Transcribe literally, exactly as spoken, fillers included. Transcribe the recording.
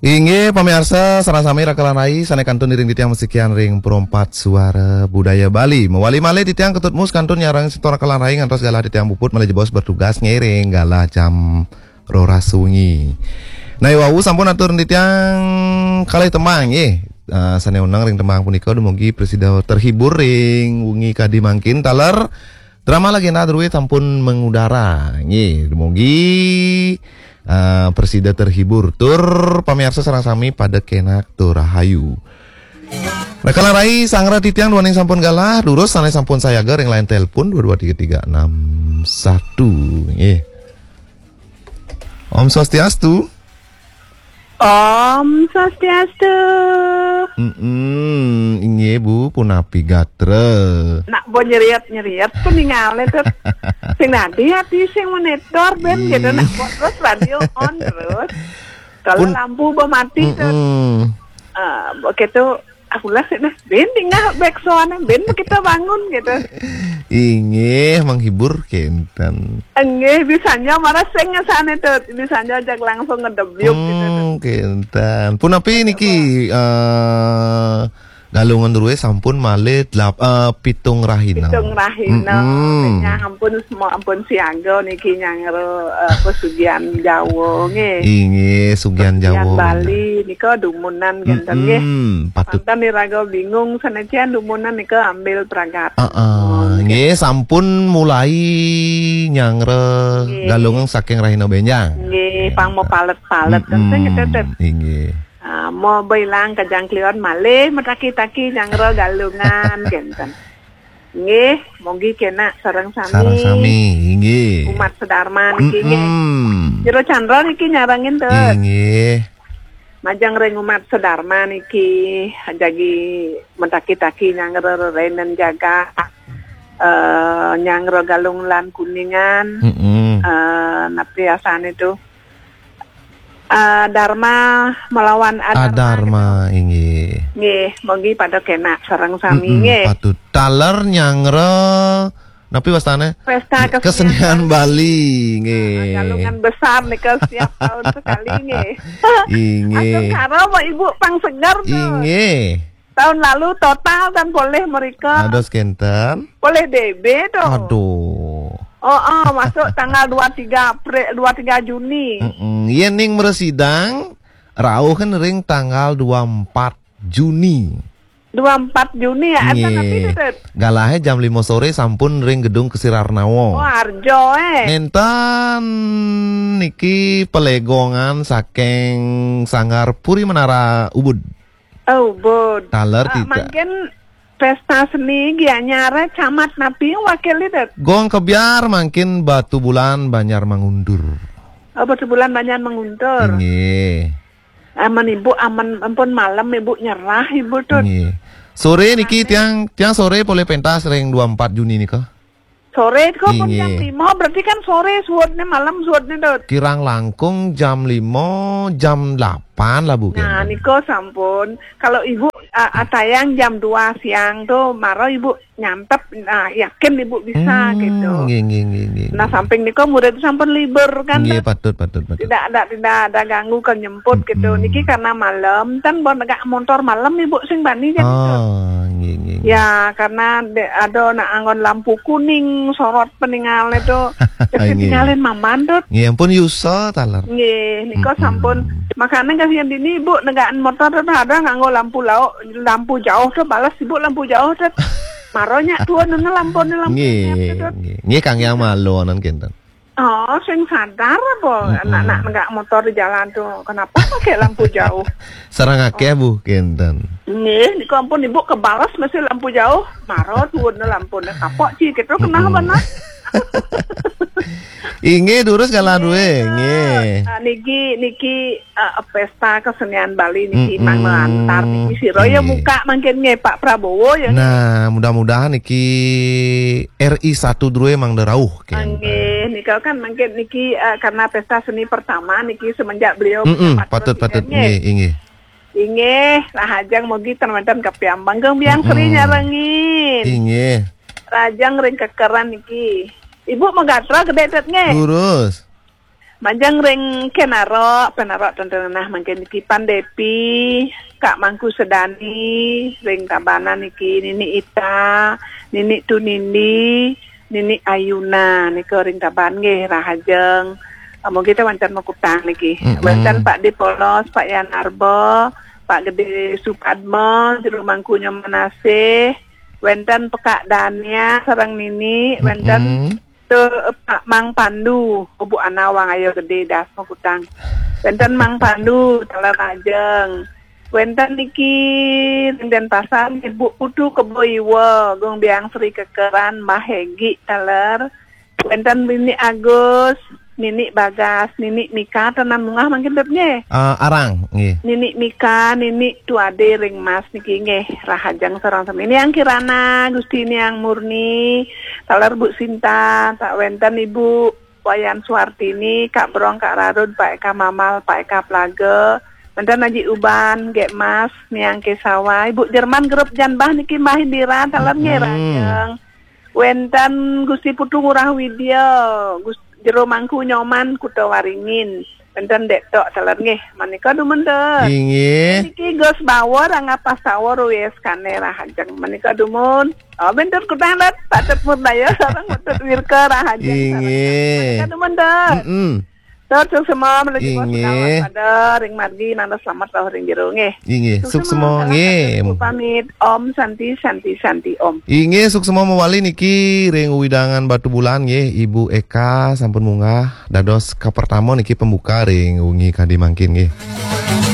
Inggih, pamiarsa, sareng sami Raka lan Rai, sané kantun iring titiang masikian ring Perempat Suara Budaya Bali. Mawali malih titiang Ketut Mus kantun nyarengin semeton Raka lan Rai ngantos galah titiang puput malih jebos bertugas ngiring galah jam roras wengi. Nah, wau sampun atur titiang kalih tembang nggih. Eh, sané oneng ring tembang punika dumugi prasida terhibur ring wengi kadi mangkin taler. Drama Legenda Druid sampun mengudara. Nggih, mugi, eh, prasida terhibur tur pamiarsa sareng sami pada kenak tur rahayu. Raka lan Rai, sareng titiang duaning sampun galah, durus sané sampun sayaga ring line telepon dua dua tiga tiga enam satu. Nggih. Om Swastiastu. Om Swastiastu. Mm-mm, inggih Bu, punapi gatra? Nak bo nyeriet-nyeriet ku ningalé to. Sing dadi ati sing monitor ben gitu, nak bo terus radio on terus. Kalau Pun- lampu bo mati to. Mm-mm. Ah, bo gitu, aku lah sih nah. Ben tinggal back soalnya, ben kita bangun gitu. Inggih, menghibur kenten. Inggih, bisanya marah sing ngesane to, bisanya ajak langsung ngedebyuk gitu to. Hmm, kenten. Punapi niki, eh, Galungan Druid sampun malih delap-, eh, pitung rahina. Pitung rahina. Mm-mm. Nyang ampun semua ampun siaga niki nyang ro, eh, pesugihan Jawa nggih. Inggih, sugihan Pesugihan Jawa. Bali nika dumunan kenten nggih. Mm-mm, patut. Panten iraga bingung, sanajan dumunan nika ambil pragat. Heeh, nggih, sampun mulai nyanggra Nggih. Galungan saking rahina benjang. Nggih, pang mapalet-palet, kan sing Mm-mm, ketetet. Inggih. Ah, mau bilang kajang kliwon malih mataki-taki nyanggra Galungan, kenten. Nggih, mugi kenak sareng sami. Sareng sami, inggih. Umat sedharma niki nggih. Mm-mm. Jero Chandra niki nyarengin to. Inggih. Majeng ring umat sedharma niki jagi mataki-taki nyanggra rerenen jagat, eh, nyanggra Galungan Kuningan. Mm-mm. Eh, napi asane to? Eh, Dharma melawan Adharma. Adharma, inggih. Nggih, mugi pada kenak sareng sami Mm-mm, nggih. Patut. Taler nyanggra, napi wastane? Pesta Kesenian Kesenian Bali, nggih. Nah, Galungan besar nika setiap tahun sekali nggih. Inggih. Astungkara mau Ibu pang seger to. Inggih. Tahun lalu total kan boleh mereka. Ados kenten. Boleh D B to. Aduh. Oh, oh, masuk tanggal dua tiga April, dua tiga Juni. Mm-mm. Yen ning mresidang, rauh kan ring tanggal dua empat Juni. Dua empat Juni ya, enten napi Nggih. Tetet? Galahe jam lima sore sampun ring Gedung Kesirarnawa. Oh, Arjo, eh. Nenten niki pelegongan saking Sanggar Puri Menara Ubud. Oh, Ubud. Taler Ah, tita. Mangkin pesta seni gianyare camat napi wakil itu? Gong kebyar mangkin Batubulan Banjar Mangundur. Oh, Batubulan Banjar Mangundur. Nggih. Aman Ibu, aman ampun malam Ibu nyerah Ibu to. Nggih. Sore niki tiang, tiang sore polih pentas ring dua empat Juni nika. Sore kok pun Inggih. Jam lima, berarti kan sore suudne, malam suudne to. Kirang langkung jam lima, jam delapan lah Bu. Nah, kenten. Nika sampun. Kalau Ibu, a-, a-, tayang jam dua siang to, mara Ibu nyantep, nah, yakin Ibu bisa Hmm, gitu. Nggih, nggih, nggih, nggih, Nah, nggih. Samping nika murid sampun libur kan, Nggih, to. Patut, patut, patut. Tidak ada, tidak ada ganggu ke nyemput gitu. Hmm. Niki karena malam, kan bon negak montor malam Ibu sing bani jam itu. Ah, nggih, nggih, nggih. Ya, karena de-, ada nak anggon lampu kuning, sorot peninggal itu. Jadi Nggih. Tinggalin maman, Dut. Nggih, ampun yusa taler. Nggih, nika Mm-mm. Sampun. Makanya kasihan dini Ibu negak motor to ada nganggo lampu lauk, lampu jauh to balas Ibu lampu jauh to. Maronya tuan nuna lampu ni lampu Nggih, ni apa to? Nggih. Nggih, Kang Yang Malo nan kenten. Oh, sing sadar apa Mm-mm. Anak-anak negak motor di jalan tuh. Kenapa pakai lampu jauh? Sareng akeh, Bu, kenten. Nggih, niku ampun Ibu kebales masih lampu jauh. Maro tuun lampune kapok ci gitu kenapa Mm-mm. Nah? Inggih, durus galah duwe. Nggih. Ah, niki, niki, ah, pesta kesenian Bali niki Mm-mm. Mang Lantar niki sira ya Nggih. Muka mangkin nggih Pak Prabowo ya. Nah, mudah-mudahan niki R I satu druwe mangda rauh, kenten. Nggih, nika kan mangkin niki, eh, karena pesta seni pertama niki semenjak beliau Mm-mm, menjabat patut, presiden, patut. Nggih. Nggih, inggih. Inggih, rahajeng mugi ten wenten kapiambang. Kang Biang Sri Mm-mm. Nyarengin. Inggih. Rahajeng ring kekeran niki. Ibu megatra gedhe det nggih. Lurus. Majeng ring Kenaro, Penaro tentang nah mangkin niki Pan Depi, Kak Mangku Sedani, ring Tabanan niki Nini Ita, Nini Tunindi, Nini Ayuna nika ring Taban nggih rahajeng. Amun kita wancan makutang niki. Mm-mm. Wancan Pak Dipolos, Pak Yan Arbo, Pak Gede Supadma, Jero Mangku Nyoman Asih, wenten Pekak Dania sareng Nini, wenten Mm-mm. Tu, Pak Mang Pandu, Bu Anawang Ayo Gede Das Makutang. Wenten Mang Pandu, taler ajeng. Wenten niki ring Denpasar, Ibu Putu Kebo Iwa, Gung Biang Sri Kekeran, Mbah Hegi, taler. Wenten Nini Agus, Nini Bagas, Nini Mika, tenan mungah mangkin dep nggih. Ah, arang, nggih. Nini Mika, Nini Tuade ring Mas niki nggih, rahajeng sareng sami. Niang Kirana, Gusti Niang Murni, taler Bu Sinta, tak wenten Ibu Wayan Suartini, Kak Brong, Kak Rarud, Pak Eka Mamal, Pak Eka Plaga, wenten Aji Uban, Gek Mas, Niang Kesawa, Ibu Jerman grup Janbah niki Mbah Indira, taler nggih Mm-mm. rahajeng. Wenten Gusti Putu Ngurah Widya, Gus Jero Mangku Nyoman Kuta Waringin. Wenten Dek Tok taler nggih. Manika dumun, Dek. Inggih. Niki Gus Bawor, Angga Pasawa, Ruwes Kane rahajeng. Manika dumun. Oh, wenten kutang, Dek. Patut Murdaya sareng Patut Wirka rahajeng. Inggih. Manika dumun, Dek. Mm-mm. Tur suksma menuju Inggih. Pada ring margi nanda selamat rauh ring jero nggih. Inggih, suksma, suksma, nggih. Pamit. Om Santi, Santi, Santi, Om. Inggih, suksma mawali niki ring wewidangan Batubulan nggih, Ibu Eka sampun munggah dados kapertama niki pembuka ring wengi kadi mangkin nggih.